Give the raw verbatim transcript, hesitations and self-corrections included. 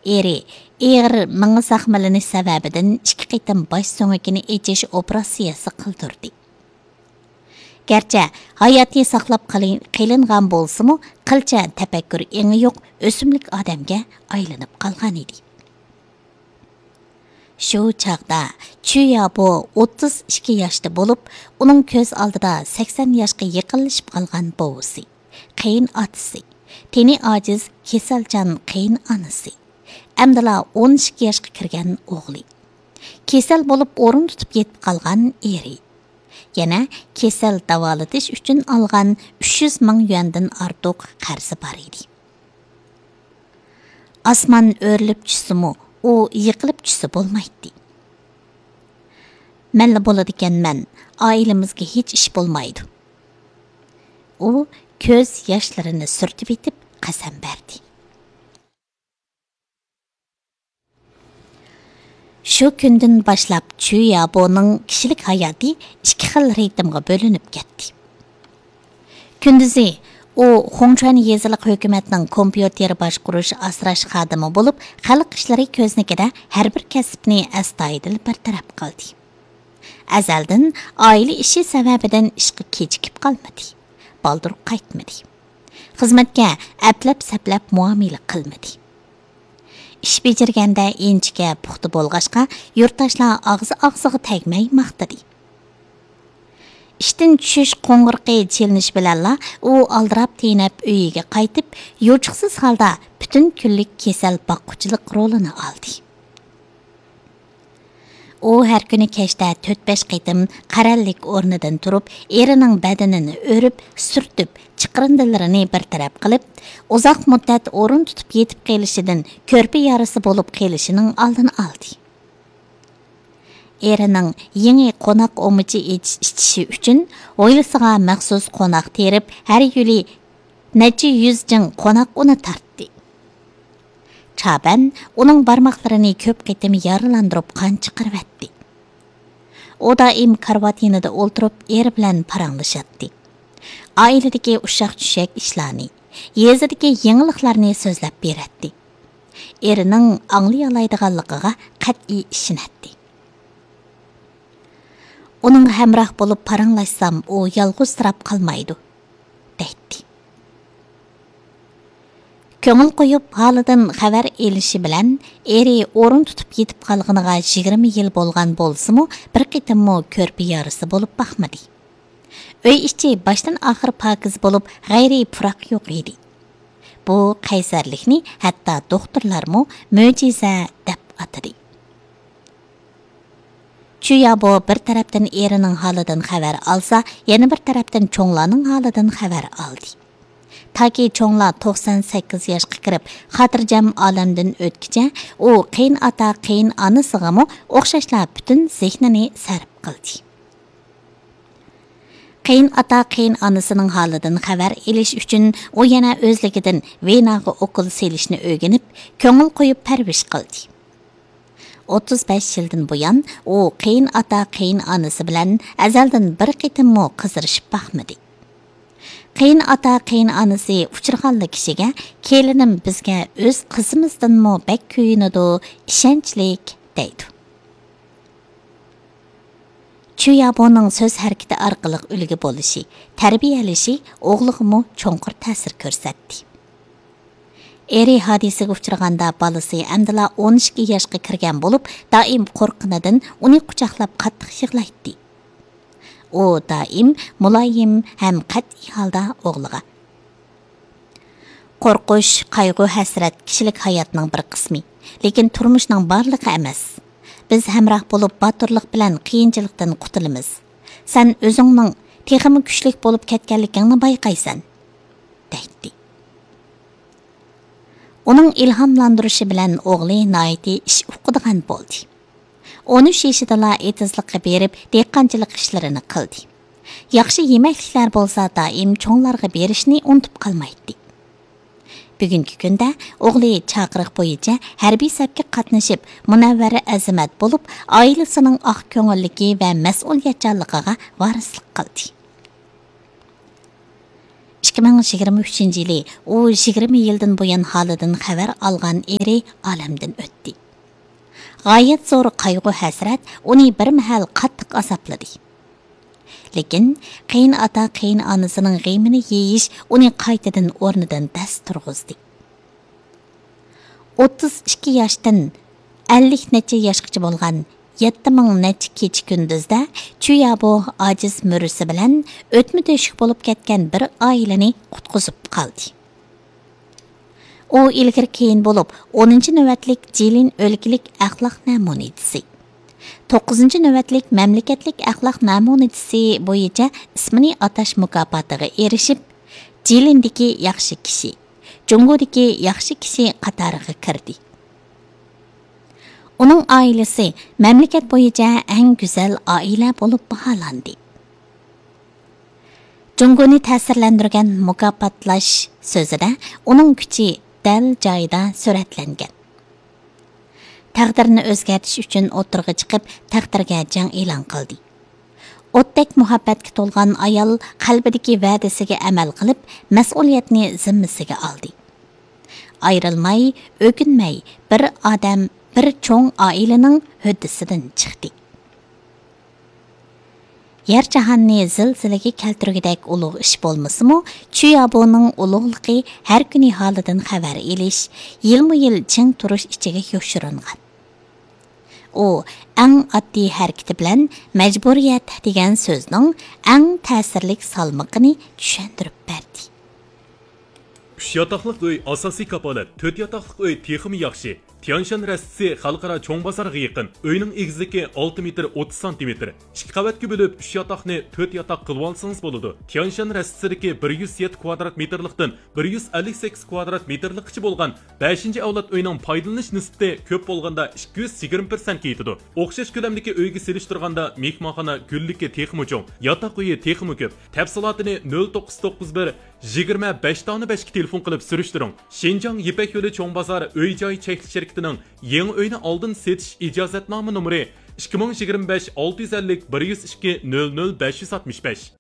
ئېرى ئېغىر مېڭە زەخىملىنىش سەۋەبىدىن ئىككى قېتىم باش سۆڭىكىنى ئېچىش ئوپېراتسىيەسى قىلدۇردى. گەرچە ھاياتى ساقلاپ قېلىن-، قېلىنغان بولسىمۇ، قىلچە تەپەككۇر ئېڭى يوق ئۆسۈملۈك ئادەمگە ئايلىنىپ قالغانىدى. شۇ چاغدا چۈييابو ئوتتۇز ئىككى ياشتا بولۇپ، ئۇنىڭ كۆز ئالدىدا سەكسەن ياشقا يېقىنلىشىپ قالغان بوۋىسى، قېيىن ئاتىسى، تېنى ئاجىز، كېسەلچان قېيىن ئانىسى، ئەمدىلا ئون ئىككى ياشقا كىرگەن ئوغلى، كېسەل بولۇپ ئورۇن تۇتۇپ يېتىپ قالغان ئېرى، يەنە كېسەل داۋالىتىش ئۈچۈن ئالغان ئۈچ يۈز مىڭ يۈەندىن ئارتۇق قەرزى بار ئىدى. ئاسمان ئۆرۈلۈپ چۈشسىمۇ، ئۇ يىقىلىپ چۈشسە بولمايتتى. مەنلا بولىدىكەنمەن، ئائىلىمىزگە ھېچ ئىش بولمايدۇ. ئۇ كۆز ياشلىرىنى سۈرتۈۋېتىپ قەسەم بەردى. شۇ كۈندىن باشلاپ چۈ يابونىڭ كىشىلىك ھاياتى ئىككى خىل رىتىمغا بۆلۈنۈپ كەتتى. كۈندۈزى ئۇ خۇڭچۈەن يېزىلىق ھۆكۈمەتنىڭ كومپيۇتېر باشقۇرۇش ئاسراش خادىمى بولۇپ، خەلق ئىشلىرى كۆزنىكىدە ھەر بىر كەسىپنى ئەستايىدىل بىر تەرەپ قىلدى. ئەزەلدىن ئائىلە ئىشى سەۋەبىدىن ئىشقا كېچىكىپ قالمىدى، بالدۇر قايتمىدى. خىزمەتكە ئەپلەپ-سەپلەپ مۇئامىلە قىلمىدى. ئىش بېجىرگەندە ئىنچىكە، پۇختا بولغاچقا، يۇرتداشلار ئاغزى-ئاغزىغا تەگمەي ماختىدى. ئىشتىن چۈشۈش قوڭغۇرىقى چېلىنىشى بىلەنلا ئۇ ئالدىراپ-تېنەپ ئۆيىگە قايتىپ، يوچۇقسىز ھالدا پۈتۈن كۈنلۈك كېسەل باققۇچىلىق رولىنى ئالدى. ئۇ ھەر كۈنى كەچتە تۆت-بەش قېتىم قەرەللىك ئورنىدىن تۇرۇپ، ئېرىنىڭ بەدىنىنى ئۆرۈپ، سۈرتۈپ، چىقىرىندىلىرىنى بىر تەرەپ قىلىپ، ئۇزاق مۇددەت ئورۇن تۇتۇپ يېتىپ قېلىشىدىن كۆرپە يارىسى بولۇپ قېلىشىنىڭ ئالدىنى ئالدى. ئېرىنىڭ يېڭى قوناق ئۇمىچى ئېچىش-، ئىچىشى ئۈچۈن ھويلىسىغا مەخسۇس قوناق تېرىپ، ھەر يىلى نەچچە يۈز جىڭ قوناق ئۇنى تارتتى. چابەن ئۇنىڭ بارماقلىرىنى كۆپ قېتىم يارىلاندۇرۇپ قان چىقىرىۋەتتى. ئۇ دائىم كارىۋات يېنىدا ئولتۇرۇپ ئېرى بىلەن پاراڭلىشاتتى. ئائىلىدىكى ئۇششاق-چۈششەك ئىشلارنى، يېزىدىكى يېڭىلىقلارنى سۆزلەپ بېرەتتى. ئېرىنىڭ ئاڭلىيالايدىغانلىقىغا قەتئىي ئىشىنەتتى. ئۇنىڭغا ھەمراھ بولۇپ پاراڭلاشسام، ئۇ يالغۇزسىراپ قالمايدۇ، دەيتتى. كۆڭۈل قويۇپ، ھالىدىن خەۋەر ئېلىشى بىلەن، ئېرى ئورۇن تۇتۇپ يېتىپ قالغىنىغا يىگىرمە يىل بولغان بولسىمۇ، بىر قېتىممۇ كۆرپە يارىسى بولۇپ باقمىدى. ئۆي ئىچى باشتىن ئاخىر پاكىز بولۇپ، غەيرىي پۇراق يوق ئىدى. بۇ قەيسەرلىكنى ھەتتا دوختۇرلارمۇ مۆجىزە دەپ ئاتىدى. چۈيابو بىر تەرەپتىن ئېرىنىڭ ھالىدىن خەۋەر ئالسا، يەنە بىر تەرەپتىن چوڭلارنىڭ ھالىدىن خەۋەر ئالدى. تاكى چوڭلار توقسان سەككىز ياشقا كىرىپ، خاتىرجەم ئالەمدىن ئۆتكىچە، ئۇ قېيىنئاتا، قېيىنئانىسىغىمۇ ئوخشاشلا پۈتۈن زېھنىنى سەرپ قىلدى. قېيىنئاتا، قېيىنئانىسىنىڭ ھالىدىن خەۋەر ئېلىش ئۈچۈن ئۇ يەنە ئۆزلۈكىدىن ۋېناغا ئوكۇل سېلىشنى ئۆگىنىپ، كۆڭۈل قويۇپ پەرۋىش قىلدى. ئوتتۇز بەش يىلدىن بۇيان ئۇ قېيىنئاتا، قېيىنئانىسى بىلەن ئەزەلدىن بىر قېتىممۇ قىزىرىشىپ باقمىدى. قېيىنئاتا، قېيىنئانىسى ئۇچرىغانلا كىشىگە، «كېلىنىم بىزگە ئۆز قىزىمىزدىنمۇ بەك كۆيۈنىدۇ، ئىشەنچلىك» دەيدۇ. چۈيابونىڭ سۆز ھەرىكىتى ئارقىلىق ئۈلگە بولۇشى، تەربىيەلىشى ئوغلىغىمۇ چوڭقۇر تەسىر كۆرسەتتى. ئېرى ھادىسىگە ئۇچرىغاندا، بالىسى ئەمدىلا ئون ئىككى ياشقا كىرگەن بولۇپ، دائىم قورققىنىدىن ئۇنى قۇچاقلاپ قاتتىق يىغلايتتى. ئۇ دائىم مۇلايىم ھەم قەتئىي ھالدا ئوغلىغا، «قورقۇش، قايغۇ-ھەسرەت كىشىلىك ھاياتنىڭ بىر قىسمى، لېكىن تۇرمۇشنىڭ بارلىقى ئەمەس. بىز ھەمراھ بولۇپ، باتۇرلۇق بىلەن قىيىنچىلىقتىن قۇتۇلىمىز. سەن ئۆزۈڭنىڭ تېخىمۇ كۈچلۈك بولۇپ كەتكەنلىكىڭنى بايقايسەن» دەيتتى. ئۇنىڭ ئىلھاملاندۇرۇشى بىلەن ئوغلى ناھايىتى ئىش ئۇقىدىغان بولدى. ئون ئۈچ يېشىدىلا ئېتىزلىققا بېرىپ، دېھقانچىلىق ئىشلىرىنى قىلدى. ياخشى يېمەكلىكلەر بولسا دائىم چوڭلارغا بېرىشنى ئۇنتۇپ قالمايتتى. بۈگۈنكى كۈندە ئوغلى چاقىرىق بويىچە ھەربىي سەپكە قاتنىشىپ، مۇنەۋۋەر ئەزىمەت بولۇپ، ئائىلىسىنىڭ ئاق كۆڭۈللۈكى ۋە مەسئۇلىيەتچانلىقىغا ۋارىسلىق قىلدى. ئىككى ئىككى مىڭ يىگىرمە ئۈچىنچى يىلى ئۇ يىگىرمە يىلدىن بۇيان ھالىدىن خەۋەر ئالغان ئېرى ئالەمدىن ئۆتتى. غايەت زور قايغۇ-ھەسرەت ئۇنى بىر مەھەل قاتتىق ئازابلىدى. لېكىن قېيىنئاتا، قېيىنئانىسىنىڭ غېمىنى يېيىش ئۇنى قايتىدىن ئورنىدىن دەس تۇرغۇزدى. ئوتتۇز ئىككى ياشتىن ئەللىك نەچچە ياشقىچە بولغان يەتتە مىڭ نەچچە كېچە-كۈندۈزدە چۈيابو ئاجىز مۈرىسى بىلەن ئۆتمە-تۆشۈك بولۇپ كەتكەن بىر ئائىلىنى قۇتقۇزۇپ قالدى. ئۇ ئىلگىرى-كېيىن بولۇپ، ئونىنچى نۆۋەتلىك جىلىن ئۆلكىلىك ئەخلاق نەمۇنىچىسى، توققۇزىنچى نۆۋەتلىك مەملىكەتلىك ئەخلاق نەمۇنىچىسى بويىچە ئىسمىنى ئاتاش مۇكاپاتىغا ئېرىشىپ، جىلىندىكى ياخشى كىشى، جۇڭگودىكى ياخشى كىشى قاتارىغا كىردى. ئۇنىڭ ئائىلىسى مەملىكەت بويىچە ئەڭ گۈزەل ئائىلە بولۇپ باھالاندى. جۇڭگونى تەسىرلەندۈرگەن مۇكاپاتلاش سۆزىدە ئۇنىڭ كۈچى دەل جايىدا سۈرەتلەنگەن. تەقدىرنى ئۆزگەرتىش ئۈچۈن ئوتتۇرىغا چىقىپ، تەقدىرگە جەڭ ئېلان قىلدى. ئوتتەك مۇھەببەتكە تولغان ئايال قەلبىدىكى ۋەدىسىگە ئەمەل قىلىپ، مەسئۇلىيەتنى زىممىسىگە ئالدى. ئايرىلماي، ئۆكۈنمەي، بىر ئادەم، بىر چوڭ ئائىلىنىڭ ھۆددىسىدىن چىقتى. يەر جاھاننى زىلزىلىگە كەلتۈرگۈدەك ئۇلۇغ ئىش بولمىسىمۇ، چۈيابونىڭ ئۇلۇغلۇقى ھەر كۈنى ھالىدىن خەۋەر ئېلىش، يىلمۇ يىل چىڭ تۇرۇش ئىچىگە يوشۇرۇنغان. ئۇ ئەڭ ئاددىي ھەرىكىتى بىلەن مەجبۇرىيەت دېگەن سۆزنىڭ ئەڭ تەسىرلىك سالمىقىنى چۈشەندۈرۈپ بەردى. ئۈچ ياتاقلىق ئۆي ئاساسىي كاپالەت، تۆت ياتاقلىق ئۆي تېخىمۇ ياخشى. تيانشان رەستىسى خەلقئارا چوڭ بازارغا يېقىن. ئۆينىڭ ئېگىزلىكى ئالتە مېتىر ئوتتۇز سانتىمېتىر. ئىككى قەۋەتكە بۆلۈپ، ئۈچ ياتاقنى تۆت ياتاق قىلىۋالسىڭىز بولىدۇ. تيانشان رەستىسىدىكى بىر يۈز يەتتە كۋادرات مېتىرلىقتىن بىر يۈز ئەللىك سەككىز كۋادرات مېتىرلىققىچە بولغان بەشىنچى ئەۋلاد ئۆينىڭ پايدىلىنىش نىسبىتى كۆپ بولغاندا ئىككى يۈز يىگىرمە پىرسەنتكە يېتىدۇ. ئوخشاش كۆلەمدىكى ئۆيگە سېلىشتۇرغاندا، مېھمانخانا گۈللۈكى تېخىمۇ چوڭ، ياتاق ئۆيى تېخىمۇ كۆپ. تەپسىلاتىنى نۆل توققۇز توققۇز بىر، يىگىرمە بەش دانە بەشكە تېلېفون قىلىپ سۈرۈشتۈرۈڭ. شىنجاڭ يىپەك يولى چوڭ بازار ئۆي جاي چەكلىك شىركىتىنىڭ يېڭى ئۆينى ئالدىن سېتىش ئىجازەتنامە نومۇرى ئىككى مىڭ يىگىرمە بەش ئالتە يۈز ئەللىك بىر يۈز ئىككى نۆل نۆل بەش يۈز ئاتمىش بەش.